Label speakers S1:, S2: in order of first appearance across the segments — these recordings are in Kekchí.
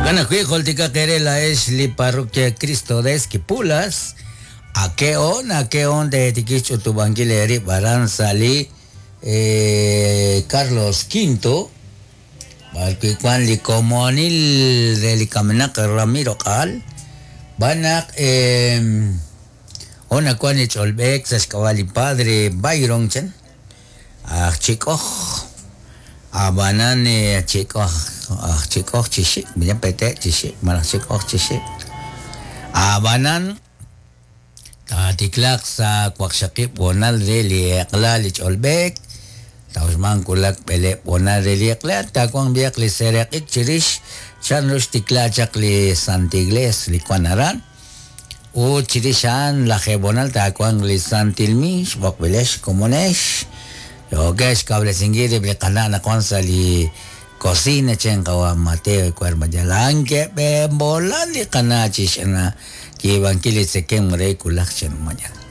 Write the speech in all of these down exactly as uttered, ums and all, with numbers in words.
S1: Jo'kan ajwi' jultika qere laa'ex li parroquia Cristo de Esquipulas akeon akeon teetikix ch'utub'ankil eerib' aran sa' li eh, Carlos Quinto b'arwi' wan li komonil re li kamenaq Ramiro Q'al b'anaq eh, ona wan li ch'olb'eek sa' xk'ab'a' li padre Byron chan aj chik'oj ab'anan eh, chik'oj aj chik'oj chi xik miyan pete chi xik malaj chik'oj chi xik ab'anan taatiklaq sa' waqxaqib' b'onal re li eq'la li ch'olb'eek tawxman kulak b'eleb' b'onal re li eq'la taawan b'iaq li sereq'ik chirix chanru xtikla chaq li Santa Iglesia li wan aran ut chirix a'an lajeb' b'onal taawan li Santil Mix b'oqb'ilex komonex yokex kablesinkil rib' li qana' naq wan sa' li cocina chen qawa Mateo Cuermayal anke b'embolan li qana' chixna yiib'ankil li tzekem re kulaj chen mañana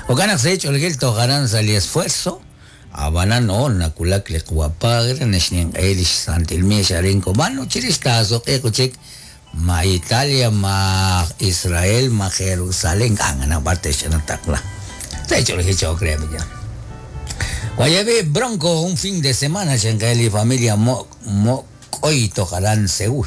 S1: jo'kan naq se ch'olgil toj aran sa' li esfuerzo ab'anan no nakulak li qawa padre naxninq'e li Santil Mix arin Cobán chirix taasuq'iq chik ma Italia ma Israel ma Jerusalén k'an b'ar texna taqla se ch'olgil chokre ya Guayabe Bronco un fin de semana en li familia Mo Mo Coito Jarán Seúl.